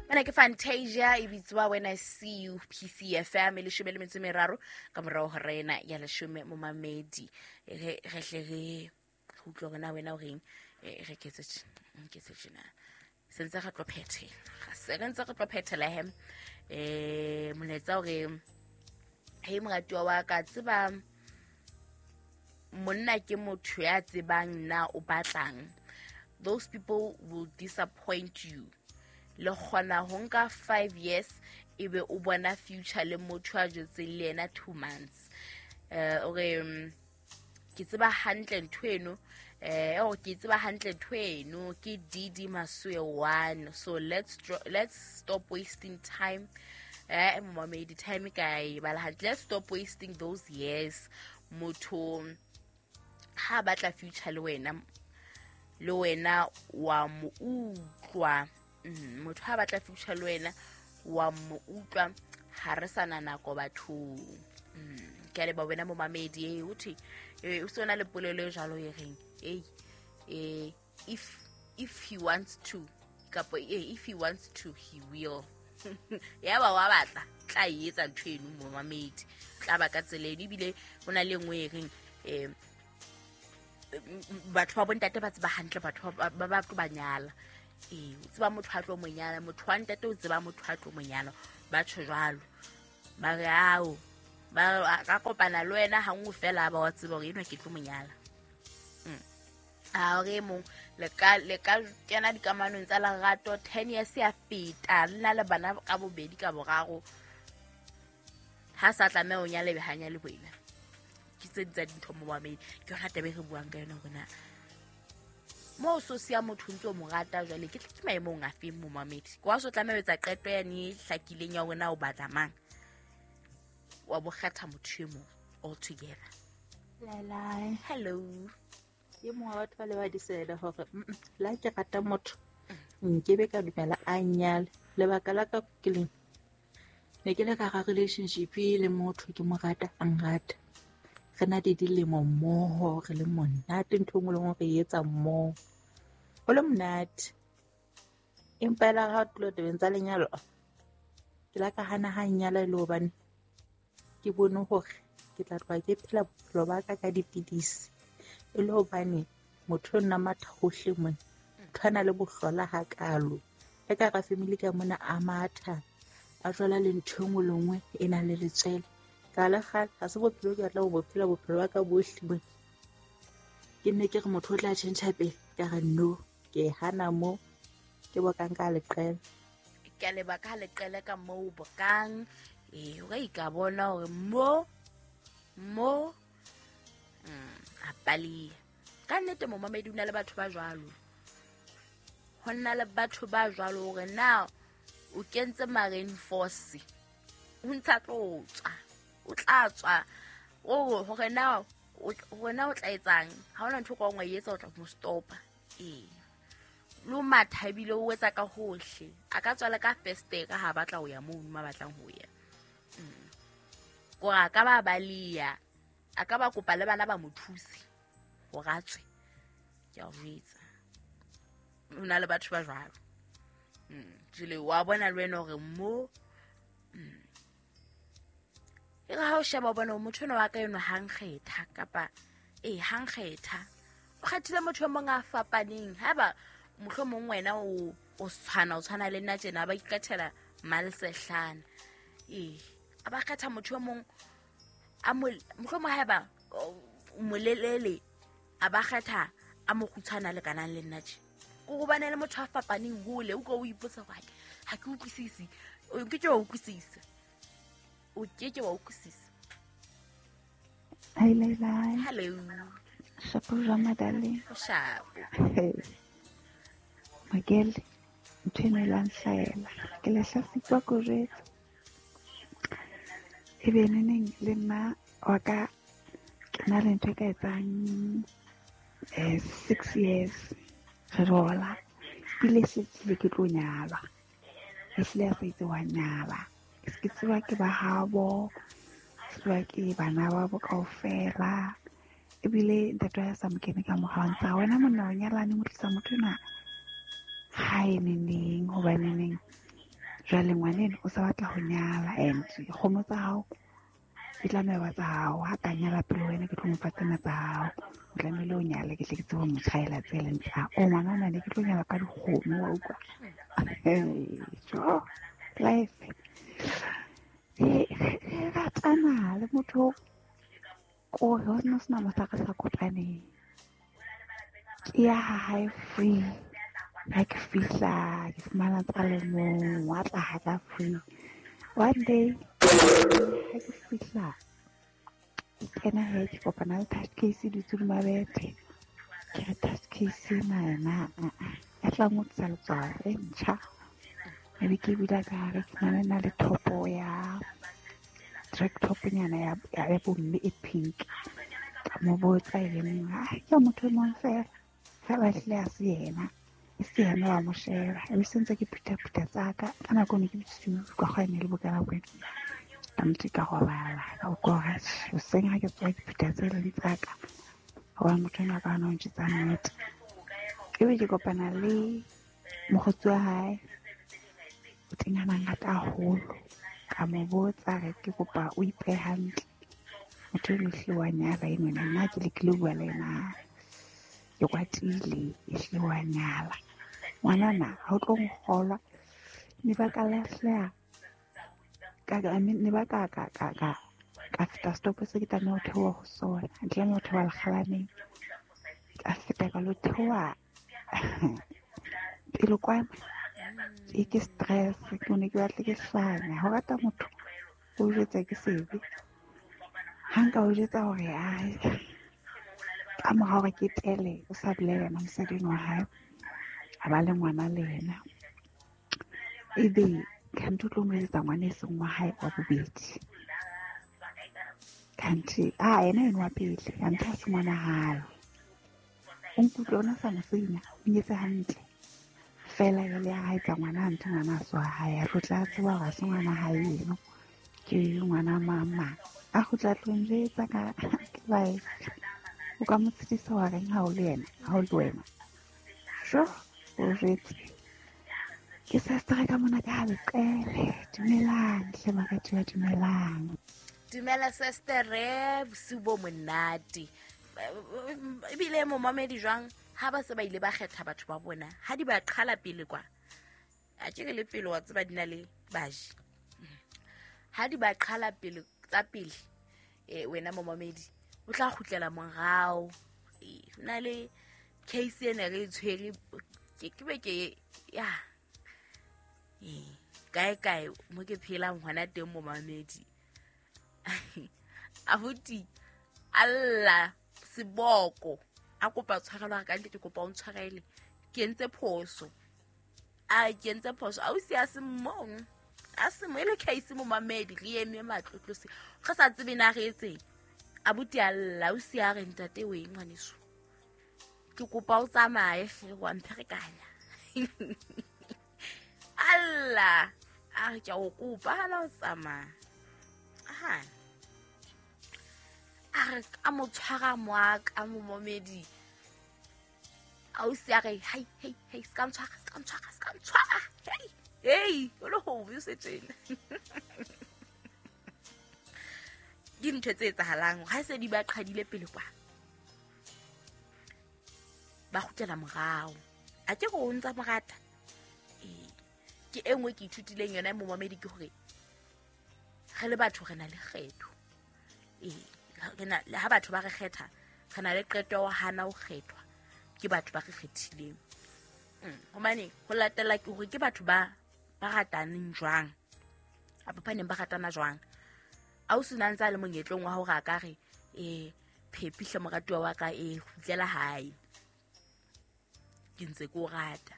Mana ke Fantasia e bitswa When I See You, PCFM e 13 ka morao ho rena ya 10 momamedi. Re hle re utlwe hore na wena o reng. Re ketse tjena sentse re tlo phethela, se re ntse re tlo phethela he. Molaetsa hore he moratuwa wa ka, tseba monna ke motho ya tsebang na o batlang. Those people will disappoint you. Le kgona ho nka 5 years ebe o bona future le motho a jetseng le yena 2 months. Ore ke tseba hantle ntho eno, ke tseba hantle ntho eno ke DD Maswe 1. So let's stop wasting time. Momamedi, time kae bala hantle. Let's stop wasting those years. Motho ha batla future le wena wa mo utlwa. Motho ha batla future le wena wa mo utlwa, ha re sana nako bathong. Ke a leboha wena momamedi. O thwe o sona le polelo e jwalo e reng if he wants to, kapa if he wants to he will. Ya ba wa batla tla etsa ntho eno momamedi, tla ba ka tsela eno. Ebile ho na le nngwe e reng batho ba bontate ba tseba hantle batho ba tlo ba nyala. O tseba motho a tlo mo nyala, motho wa ntate o tseba motho a tlo mo nyala. Ba tjho jwalo, ba re ao ba ka kopana le wena ha nngwe fela ba wa tseba hore enwa ke tlo mo nyala. A re mong le ka kena dikamanong tsa lerato 10 years ya feta, le na le bana ka bobedi ka boraro, ha sa tlameha o nyale be ha nyale wena. Ke tse tsa dintho momamedi, ke yona taba e re buang ka yona hore na mo so siya motho ntse o mo rata jwale ke maemong a feng momamedi. Kwa so tlameha ho etsa qeto yane e hlakileng ya hore na o batla mang, wa bo kgetha motho e mong all together. Lala. Hello. Ke mongwe wa batho ba le ba disela hore la ke rata motho nkebe ka dumela a nyale. Lebaka la ka ke leng, ne ke le ka ga relationship le motho ke mo rata a nrata, re na le dilemo mmoho, re le monate, ntho engwe le nngwe re etsa mmoho, ho le monate. Empa ela ha tlo tabeng tsa lenyalo, ke la ka hana ha nyala e le hobane ke bone hore ke tla tloha ke phela bophelo ba ka ka dipidisi, e le hobane motho o nna matha hohle mona, motho a na le bohlola hakalo. Le ka hara family ka mona a matha, a jwala le ntho engwe le nngwe e nang le letswele. Ka le kgale ha se bophelo ke batla ho bophela bophelo ba ka bohle mona. Ke nne ke re motho o tla tjhentjha pele, ka re no, ke hana mo, ke bokang ka leqele. Ke a leba ka leqele ka moo bokang. O ka bona hore mo a pali. Ka nnete momamedi o na le batho ba jwalo. Ho nna le batho ba jwalo hore na o kentse marine force, o ntsa tlo tswa, o tla tswa, o hore na o tla etsang. Ha hona ntho ka nngwe e etsa o tla mo stopa. Lo matha ebile o etsa ka hohle, a ka tswala ka feste ka ha batla ho ya moo ma batlang ho ya. Kora ka ba balia, a ka ba kopa le bana ba mo thuse hore a tswe. Ke a o jwetsa, ho na le batho ba jwalo. Jwale wa bona le wena hore mo e re ha o sheba o bona motho enwa wa ka enwa ha nkgetha, kapa ha nkgetha, o kgethile motho e mong a fapaneng. Haeba mohlomong wena o tshwana le nna tjena, ba ikgethela malsehlana. A ba kgetha motho e mong a mohlomong haeba molelele, a ba kgetha a mo kgutshwana le kanang le nna tje. Ko hobane le motho a fapaneng hole, o ka o ipotsa hore ha ke utlwisisi. O ke ke wa utlwisisa. O ke ke wa utlwisisa. Hi Leila. Hello. Shapo jwang madale? Shapo. Magele, ntho eno e la nhlahela. Ke lahlasitswa ko jwetsa. Ebe neneng le nna wa ka ke na le ntho e ka etsang 6 years re rola. Ebile setsile ke tlo nyalwa. Ehlile a sa itse wa nyala. Ke tseba ke ba habo, tseba ke bana ba bo kaofela. Ebile ntate wa sa mo kene ka morao ntsa wena monna o nyalane o tlisa motho enwa hae neneng, hobaneneng Jwale ngwaneno o sa batla ho nyala and dikgomo tsa hao di tlameha ba tsa hao. Ha ka nyala pele wena ke tlo mo fa tsena tsa hao. O tlamehile o nyale ke tle ke tsebe ho mo tjhaela tse leng tsa hao. O ngwanana ne ke tlo nyala ka dikgomo wa utlwa. Jo, life. Re ratana le motho ko ho no sena mohla re sa kopaneng. Ke ya ha hae free. Ha ke fihla ke fumana tsa le mong wa tla ha ka free. One day ha ke fihla ke kena he ke kopana le touch case dutse hodima bethe. Ke re touch case ena yena e tla ngotsisa letswalo e ntjha. Ebe ke bula ka hare ke fumana e na le thopo ya track top nyana ya bomme e pink. Ka mo botsa e le mong, ke motho e mong fela. Fela ehlile ha se yena. E se yena wa mo sheba. Ebe se ntse ke phutha-phutha tsa ka. Ka nako eno ke bosiu ka kgwa ene le bokana bo ena. Ka ntse ka robala. Ka utlwa hore atjhe, hoseng ha ke tsoha ke phutha tse leng tsa ka. Hobane motho enwa ka hana ho ntjwetsa nnete. Ebe ke kopana le mokgotsi wa hae. O teng a mangata haholo. Ka mo botsa re ke kopa o ipehe hantle. Motho eno ehlile wa nyala enwana. Nna ke lekile ho bua le yena. Ke kwatile ehlile wa nyala. Ngwanana ha o tlo nkgolwa. Ne ba ka lahleha. Ne ba ka feta stop se ke tlameha ho theoha ho sona. Ke tlameha ho theoha lekgalaneng. Ka feta ka lo theoha pele kwana. Ke stress, ke ne ke batla ke hlanya. Ho rata motho o jwetsa ke sebe. Ha nka o jwetsa hore ai ka mora hore ke tele o sa bolela yena mosadi wa hae. A ba le ngwana le yena. Ebe khanti o tlo mo etsetsa ngwana e seng wa hae wa bobedi. Khanti yena eno wa pele, khanti ha se ngwana hae. O nkutlwe ona sa mo senya, o nyetse hantle. Fela jwale ha etsa ngwana hantle ngwana a se wa hae. A tlo tseba hore ha se ngwana hae eno. Ke ngwana mama. A kgutla tlo njwetsa ka life. O ka mo tshedisa wa reng ha o le yena, ha o le wena. Sho, o jwetse. Ke sestere ka mona ka ha leqele. Dumelang, hle baratuwa, dumelang. Dumela sestere, bosiu bo monate. Ebile momamedi jwang ha ba se ba ile ba kgetha batho ba bona. Ha di ba qhala pele kwa. A ke le pele wa tseba di na le baji. Ha di ba qhala pele tsa pele wena momamedi o tla kgutlela morao. Na le case ena re tshwere ke be ke ya kae kae mo ke phelang hona teng momamedi. Abuti alla seboko a kopa tshwarelo ka ntle ke kopa o ntshwarele ke entse phoso. A ke entse phoso a o si a se mong a se mo ile case momamedi re eme matlotlose re sa tsebe na re etseng. Abuti alla o si a re ntate o eng ngwaneso ke kopa o tsamaye hle wa mpherekanya. Alla a re ke o kopa hana o tsamaya. Aha a re ka mo tshwara moaka momamedi. A o si a re hei hei hei ska ntshwara ska ntshwara ska ntshwara hei hei o le ho o se tjena. Ke ntho tse etsahalang ha se di ba qhadile pele kwa ba kgutlela morao. A ke go ntsa morata. Ke e nngwe ke ithutileng yona momamedi ke hore re le batho re na le kgetho. Re na le ha batho ba re kgetha re na le qeto ya hana ho kgethwa ke batho ba re kgethileng. Hobane ho latela ke hore ke batho ba rataneng jwang. Apa ba neng ba ratana jwang. A o sena ntsa le monyetlong wa hore a ka re phepihle moratuwa wa ka kgutlela hae. Ke ntse ke o rata.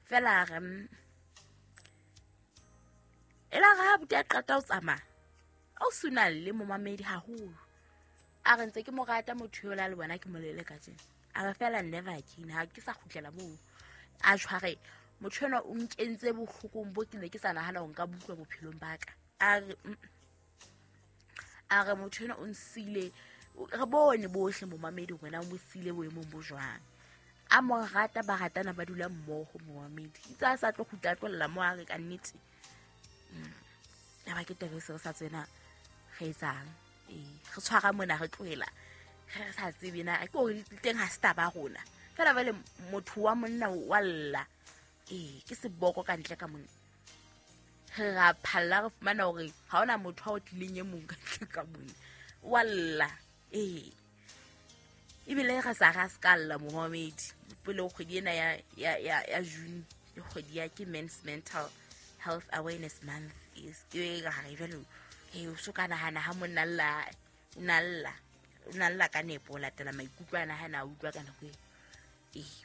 Fela re ela ra buti a qeta ho tsamaya. A o sena le momamedi haholo. A re ntse ke mo rata motho yola le bona ke molele ka tjena. A re fela never again ha ke sa kgutlela moo. A tshware motho enwa o nkentse bohlokong bo ke ne ke sa nahana ho nka butlwa bophelong ba ka. A re a re motho enwa o nsile re bone bohle momamedi wena o mo sile boemong bo jwang. A mo rata, ba ratana, ba dula mmoho momamedi. Itse a sa tlo kgutla a tlohella mo a re ka nnete. Ya ba ke taba e se re sa tsena re etsang. Ee, re tshwara mona re tlohela. Re sa tsebe na ke hore le teng ha se taba ya rona. Fela jwale motho wa monna wa lla. Ee, ke seboko ka ntle ka mona. Re ra phalla re fumana hore ha hona motho a o tlileng e mong ka ntle ka mona. Wa lla. Ee. Ebile re sa ra se ka lla momamedi. Pele kgwedi ena ya June, ke kgwedi ya ke Men's Mental Health Awareness Month. E se ke ra re jwale, he o so ka nahana ha monna lla, o na lla. O na lla ka nepo ho latela maikutlo ana ha na utlwa ka nako eo. Ee.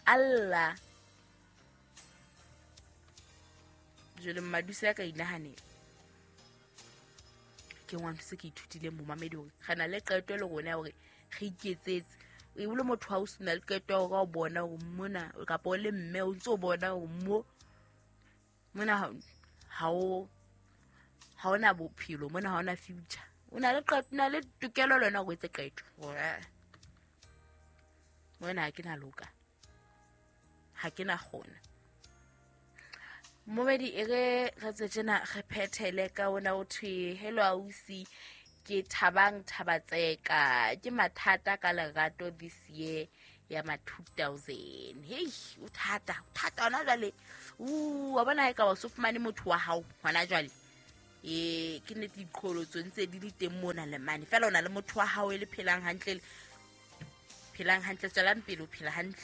Allah. Jwale Mmaduse ya ka inahanela. Ke ngwana se ke ithutileng momamedi hore re na le qeto le rona ya hore re iketsetse. O ebile motho ha o sena le qeto ya hore o bona hore mona kapa o le mme o ntso bona hore mo mona ha o na bophelo, mona ha ona future. O na le qeto, o na le tokelo le wena hore o etse qeto. Hore mona ha ke na loka, ha ke na kgona. Momedi e re re tswe tjena re phethele ka ona o thwe hello ausi, ke Thabang Thabatseka, ke mathata ka lerato this year ya ma 2000. Hei, o thata, o thata hona jwale. Wa bona ha e ka wa so fumane motho wa hao hona jwale. Ee, ke nnete diqholotso ntse di le teng mona le mane. Feela o na le motho wa hao e le phelang hantle, phelang hantle, tswelang pele o phela hantle.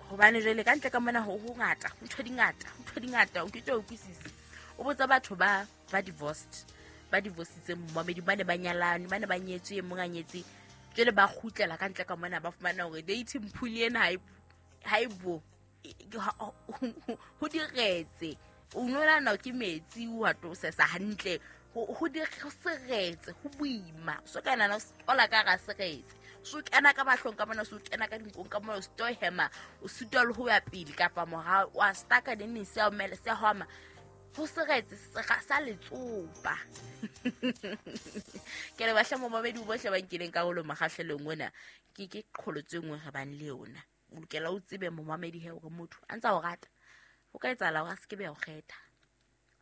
Hobane jwale ka ntle ka mona ho hongata, ho ntho di ngata, ho ntho di ngata, o ke tlo utlwisisa. O botsa batho ba divorced, ba divorcitseng momamedi, ba ne ba nyalane, ba ne ba nyetswe, e mong a nyetse. Jwale ba kgutlela ka ntle ka mona ba fumana hore dating pool ena ha e bo, ho diretse. O nolana ke metsi, o a to sesa hantle. Ho seretse, ho boima. So ka nana o la ka ra seretse. So kena ka mahlong ka mona, so kena ka dinkong ka mona, o sito hema, o sitwa le ho ya pele kapa morao, wa staka neng se a omela, se a hwama. Ho seretse sa letsopa. Ke le batla momamedi bohle ba nkileng karolo mokgahlelong ona. Ke qholotso e nngwe re bang le yona. O lokela o tsebe momamedi he hore motho a ntsa o rata. Ho ka etsahala hore a se ke be a o kgetha.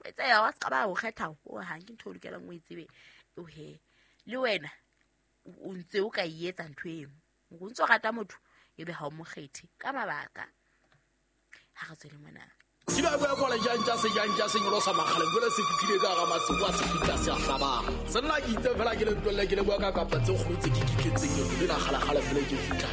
O etsahala hore a se ka ba o kgetha ho hang, ke ntho o lokelang o e tsebe. O he le wena o ntse o ka e etsa ntho eno. O ntse o rata motho ebe ha o mo kgethe ka mabaka. Ha re tswele mona. Ke ba bua kola jantja se jantja se nyolosa makgaleng jwale se fihlile ka hara masimo a se fihla se a hlabang. Se nna ke itse fela ke le ntwelle ke le bua ka kapa tse kgolo tse ke kitletseng eo le la kgalakgala fela ke fihla.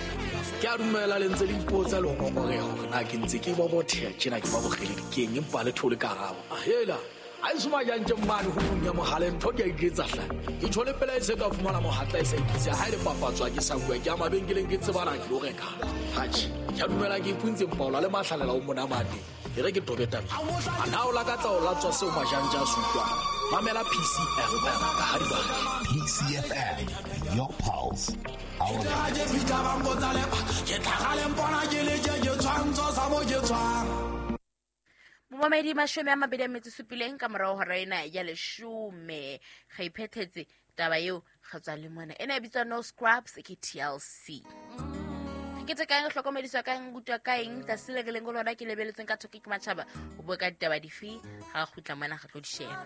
Ke a dumela le ntse le ipotsa le ho ngongoreha hore na ke ntse ke bobotheha tjena ke ba bokgeledi keng empa le thole karabo. Ahela, ha e soma jantje mmane ho mong ya mohale ntho ke a iketsa hle. Ke tjho le pela e se ka fumana mohatla e sa ikitse ha e le papatswa ke sa bua ke a mabenkeleng ke tsebana ke lo reka. Hatjhe, ke a dumela ke ipuntse mpaola le mahlalela o mona mane. E re ke tobe taba. A na o lakatsa ho latswa seo majantja a se utlwang? Mamela PCFM ka ha di batla. PCFM, your pulse, our Momamedi 27 ka morao hora ena ya 10. Re iphethetse taba eo re tswa le mona. Ena e bitswa No Scrubs ke TLC. Ke tse kaeng hlokomediswa ka eng, rutwa ka eng, tlase le re leng ho lona ke lebeletseng ka thoko ke matjhaba ho bua ka ditaba dife. Ha re kgutla mona re tlo di sheba.